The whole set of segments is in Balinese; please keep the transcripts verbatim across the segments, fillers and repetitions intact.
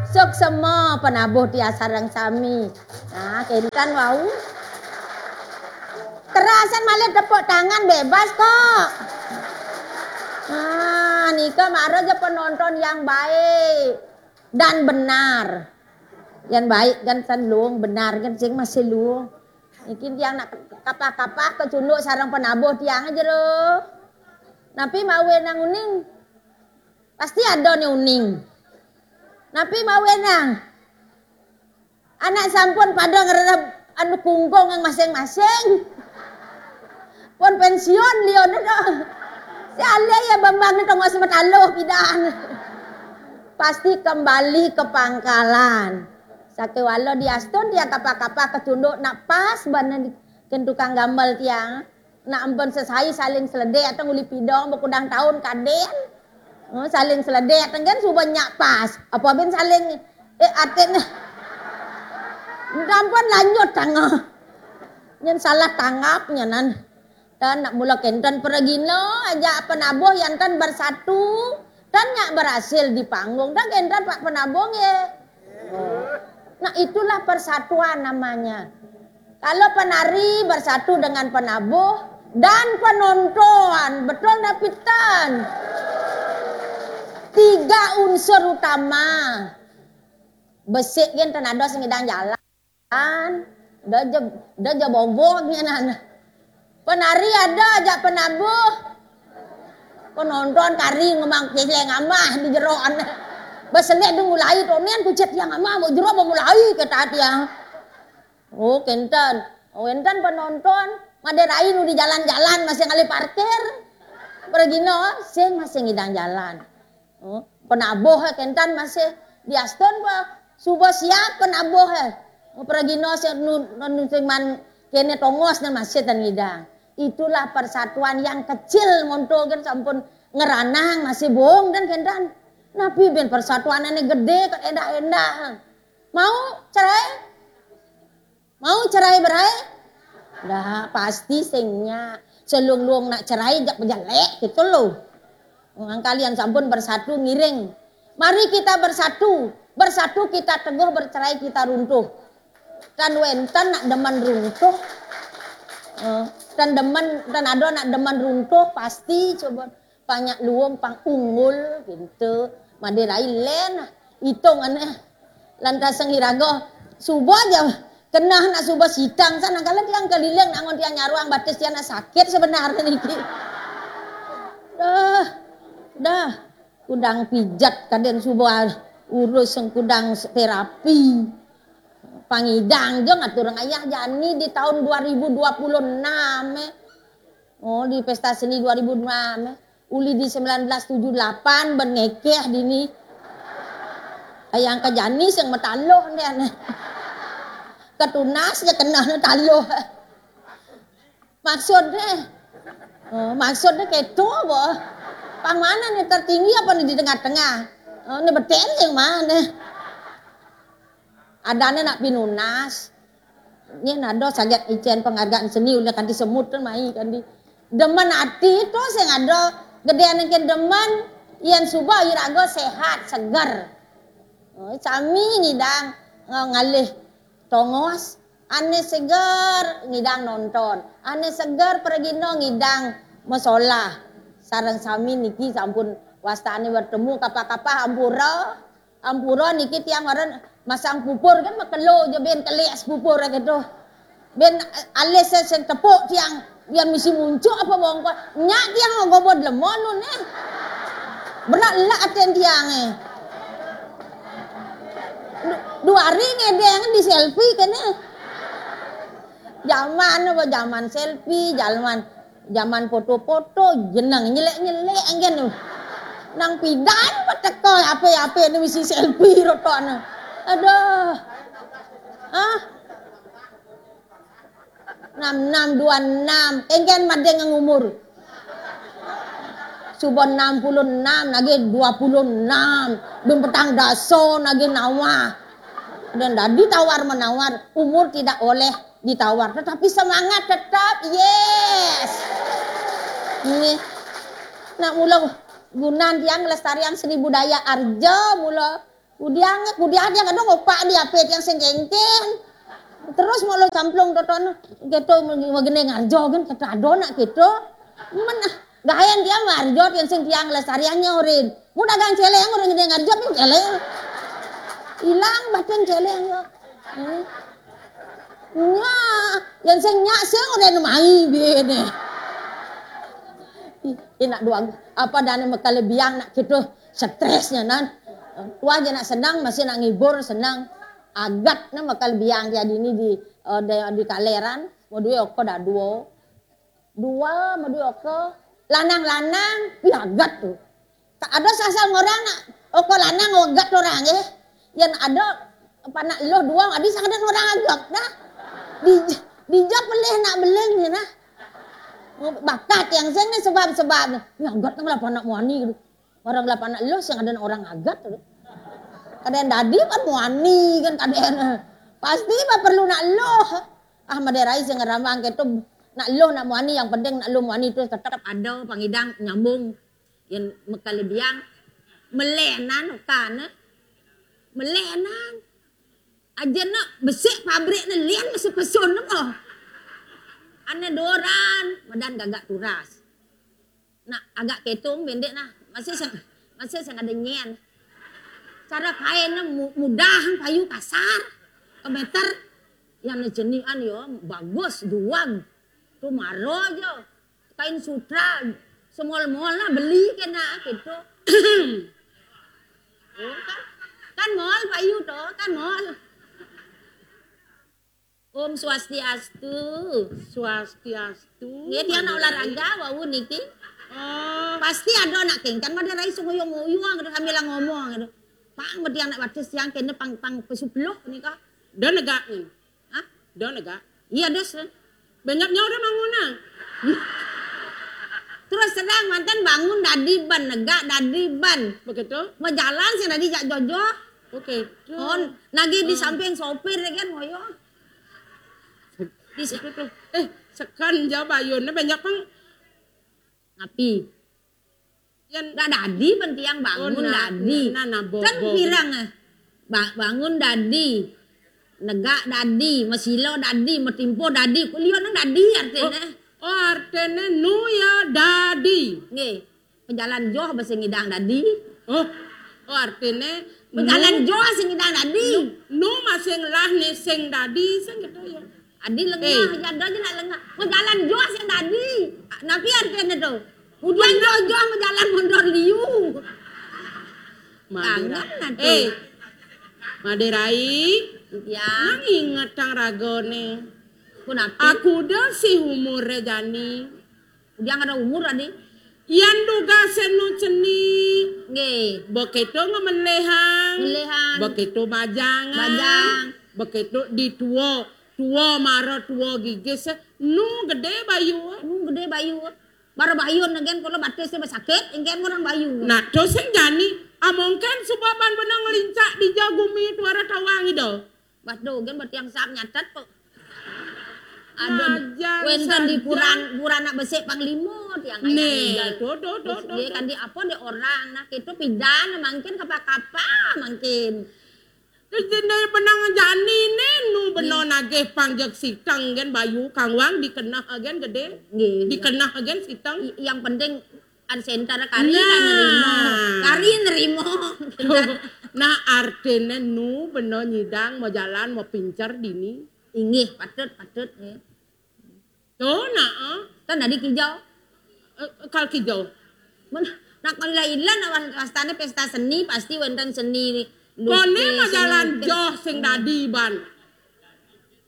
Suksma penabuh tiang sareng sami. Nah, kénten wau. Terasen malih tepuk tangan bebas kok. Nah, nika mara ja penonton yang baik dan benar. Yang baik kan san luung, benar kan sing masih luung. Niki tiang nak kapah-kapah kecunduk sareng penabuh tiang jero. Napi mawenang uning? Pasti ada né uning. Napi mawenang? Anak sampun pada ngrerep anu kungkung yang masing-masing. Pun pensiun liya to. Si alih ya Bambang né tongos mataluh pidan. Pasti kembali ke pangkalan. Sakéwala diastun tiang kapah-kapah kecunduk nak pas bana di, kén tukang gambel tiang. Nak ampun sesai saling seledek atau nguli pidong bekudang taun kadén. Oh, saling seledek tenggen suba nyak pas. Apa bin saling eh atin. Dampun lanjut tangah. Nyen salah tanggap nyenan. Dan nak mula kénten pergina aja penabuh yang tan bersatu dan nyak berhasil di panggung. Dan kénten Pak Penabuh ya. Nah, itulah persatuan namanya. Kalau penari bersatu dengan penabuh dan penonton, betul ndak pitan? Tiga unsur utama. Besik gén tan ada sing ngidang jalan. Dah je, dah je bogoh nyenan. Penari ada ajak penabuh. Penonton kari ngembang kesel ngamah di jero. Beselek deng mulai tonian kucet yang ngamah mau jero mau mulai kata tiang. Oh, kénten. Oh, énten penonton, madé rai nu di jalan-jalan masih ngalih parkir. Pergina, sing masih ngidang jalan. Oh, penabuh kénten masih diastun pa suba siap penabuh. Oh, pergina sing nu, nu sing man kéné tongos né masih tan ngidang. Itulah persatuan yang kecil monto kan sampun ngeranang masih bong dan kénten. Napi bin persatuan ini gedé kok endah-endah. Mau cerai? Mau cerai berai? Dah, pasti sing nya. Selung-lung nak cerai jak bejelek gitu loh. Nang kalian sampun bersatu ngiring. Mari kita bersatu. Bersatu kita teguh, bercerai kita runtuh. Tan wénten nak demen runtuh. Eh, tan demen, tan ada nak demen runtuh, pasti coba. Pang nyak luung, pang unggul, gitu. Madé rai lén, itung ané. Lantas sing iraga, suba ja, keneh nak suba sitang, sanakala tiang keliling, nak ngon tiang nyaruang batis tiang nak sakit sebenarnya niki. Dah, dah. Kudang pijat kadén suba urus sing kudang terapi. Pang ngidang ja ngatur ayah jani di tahun dua ribu dua puluh enam, eh. Oh, di pesta seni dua ribu enam, eh. Uli di sembilan belas tujuh delapan ben ngekeh dini. Ayang ka jani sing mataluh ndén. Ketunas ja keneh taluh. Maksudnya, oh, maksudnya keto apa? Pang mana nih, tertinggi apa nih di tengah-tengah? Oh, ini betul yang mana? Adanya nak pinunas. Ini ada saget icén penghargaan seni udah kanti semut kan mai kanti. Demen ati itu sing ada gedé anak demen yang suba iraga sehat seger. Oh, sami ngidang ngalih tongos, ané seger ngidang nonton, ané seger pergina ngidang masolah. Sareng sami niki sampun wastane bertemu kapah-kapah ampura. Ampura niki tiang maren masang pupur kan makelo ja ben telik pupur gitu. Ben alis sing tepuk tiang, biar misi muncuk apa bongkol. Nyak tiang ngobod lemon nun eh. Berat lak aten tiang eh. Dua hari ngedeng di selfie kene. Zaman apa zaman selfie, zaman zaman foto-foto, jeneng nyelek-nyelek engken tu. Nang pidan peteka ape-ape ni misi selfie rotokne. Aduh. Ah. Enam enam dua enam, engken madeng ngang umur. Suba enam puluh enam, nagih dua puluh enam, dum petang dasa nagih nawah. Dan dadi tawar menawar, umur tidak oleh ditawar, tetapi semangat tetap, yes. Nggih. Nak mula gunan tiang ngelestariang seni budaya arja mula Kudiang, kudiang dia kadang opak dia apit yang sing kengken. Terus mau lo camplung toton gitu, magene ngarjo kan, kata ado nak gitu. Men, ah, gayan dia ngarjo yang sing tiang lestariannya orin. Mau dagang celeng orang gede ngarjo pun celeng. Hilang batin celeng yo. Hmm. Nya, yang sing nyak sing orang mai bene. Ih, enak doang. Apa dane mekale biang nak gitu stresnya nan. Tua aja nak senang, masih nak ngibur senang. Agat ne mekale biang dia dini di, eh, di, di kaleran, mau duwe oko dah duo. Dua, mau duwe oko. Lanang-lanang, pi agat tuh. Tak ada sasal ngorang nak oko lanang agat orang eh. Yang ada panak lo dua, adi sangat orang agat dah. Di, di jok pelih nak beling ni nah. Bakat yang sing ni sebab-sebab ni. Ya agat nang lah panak muani gitu. Orang lah panak lo sing ada orang agat tu. Kadang dadi kan muani kan kadang. Pasti mah perlu nak lo. Ah, maderai sing ngerambang ketu nak lo nak muani, yang penting nak lo muani tu tetap ada pangidang nyambung. Yang mekale biang melenan kan. Melenan. Aja nak besik pabrik ne lian masih pesun ne mo. Ane doran, madan gagak turas. Nak agak ketung bendek nah. Masih sing, masih sing ada nyen. Cara kain ne mu-, mudah payu kasar. Ke meter. Yang ne jenian yo, bagus, duag. Tu maro aja. Kain sutra, semol-mol lah beli kena gitu. Oh, kan, kan mol payu to, kan mol. Om Swastiastu. Swastiastu. Nggih, tiang nak olahraga wau niki. Oh. Pasti ada nak kengkan pada rai sunguyung-uyung gitu sambil ngomong gitu. Pang betiang nak batis tiang kene pang pang pesupluk nika. Dah negak ni. Hah? Dah negak. Iya, Des. Banyaknya orang manguna. Terus terang mantan bangun dadi ban, negak dadi ban. Begitu? Majalan sing dadi jak jojo. Oke. Oh, nagi di samping sopir ya kan ngoyo. Di sa- Itu tuh. Eh, sekan jauh bayunnya banyak pang. Api. Yan. Nggak dadi, bentiang bangun. Oh, nah, dadi. Nah, nah, bo-, kan bo-, pirang, eh. Ba-, bangun dadi. Negak dadi, masilo dadi, matimpo dadi, kuliah nang dadi artinya. Oh, oh, artinya nu ya dadi. Nggih. Pejalan joh basa ngidang dadi. Oh, oh, artinya pejalan nu-, joh sing ngidang dadi. Nu, nu masing lah ni sing dadi, sing gitu ya. Adi lengah, eh. Jada aja nak lengah. Mau jalan joh sing dadi. Napi artinya tu? Ujian joh-joh mau jalan mondor liu. Madera. Kangen nanti. Eh, Maderai. Ya. Nang inget tang ragone. Ku napi? Aku dah si umur jani. Udah ada umur tadi. Yan duga senu ceni. Nggih. Beketo ngemelehang. Melehang. Beketo bajangan. Bajang. Beketo di tuo. Tuo maro tuo gigis. Nu gede bayu. Nu gede bayu. Maro bayu negen kalau batis basakit, engken orang bayu. Nah, to sing jani. Amongken suba ban benang ngelincak di jagumi tuara tawang ido. Bah dogen berarti yang sap nyatet kok. Aduh, majan wenten di saja. Puran, puran nak besik panglima tiang ayah. Nih, ninggal. Tuh, tuh, tuh, tuh, dia tuh. Kan di apa di orang, nah itu pidan mangkin kapa-kapa mangkin. Terus dia benang jani nih, nu beno nagih pangjek siteng gen bayu kangwang dikenah gen gede. Nggih, iya. Dikenah gen siteng. I-, yang penting ada senter kari lah nerima. Nah. Kari nerima. Nah, artine nu beno nyidang mau jalan mau pincer dini. Inggih, patut, patut, nggih. Tuh, nah, eh. Kan tadi kijau. Eh, kal kijau. Men, nak ilah-ilah nak was-, wastane pesta seni, pasti wenten seni lukis, kone mau jalan seni lukis. Joh sing dadi ban.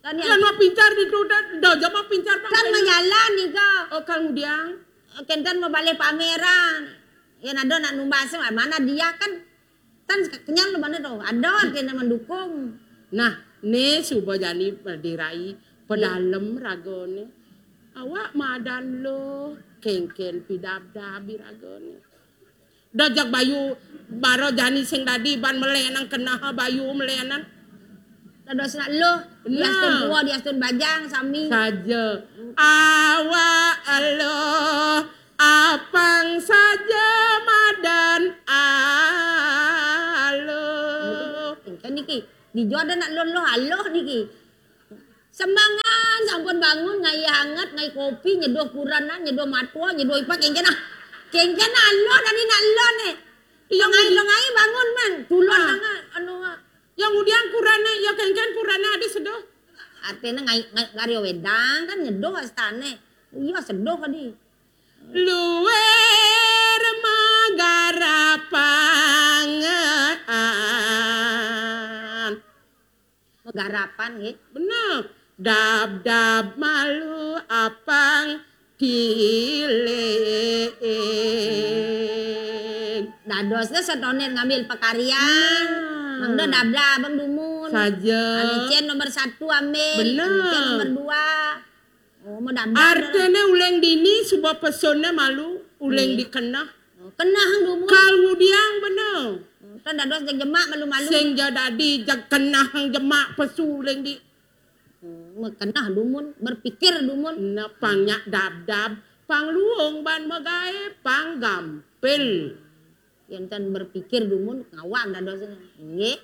Kan ya. Kan mau pincar di tu, dah, dah, jam mau pincar, Bang. Kan mau jalan nih, kok. Oh, kal ngudiang. Kenten mau balik pameran. Ya, nado nak numbas, mana dia kan. Kan kenyang lu mana tu? Ada artinya mendukung. Nah, ne suba jani berdirai pedalem ragone. Awak madan lo kengken pidabdab ragone. Dajak bayu baro jani sing dadi ban melenan kenah bayu melenan. Dados nak lo, nah. Diastun tua, diastun bajang, sami. Saja. Awak lo apang saja madan alo. Kan niki, dijo ada nak loh-loh aloh niki. Sembangan sampun bangun, ngai hangat, ngai kopi, nyeduh kurenan, nyeduh matua, nyeduh ipak, kengken ah. Kengken aloh tadi nak loh ne. Iya, ngai, ngai bangun man. Tulon ah. Anu ah. Yang udiang kurene, ya kengken kurene adi seduh. Artine ngai, ngai gario wedang kan nyeduh astane. Iya seduh tadi. Luwer magarapan. Magarapan nggih. Bener. Dab-dab malu apang tiling. Dadosnya setonin ngambil pekarian. Nah. Mangda dab-dab abang dumun. Saja. Anu cen nomor satu ambil. Bener. Anu cen nomor dua. Oh, mau dab-dab. Artine uleng dini suba pesonne malu, uleng dikenah. Oh, kenah dumun. Kal ngudiang bener. Kan dados jeg jemak malu-malu. Sing ja dadi jeg kenah jemak pesu uleng di. Hmm, kenah dumun, berpikir dumun. Nah, pang nyak dab-dab, pang luung ban magae, pang gampil. Yen ten berpikir dumun, ngawag dadosne. Nggih.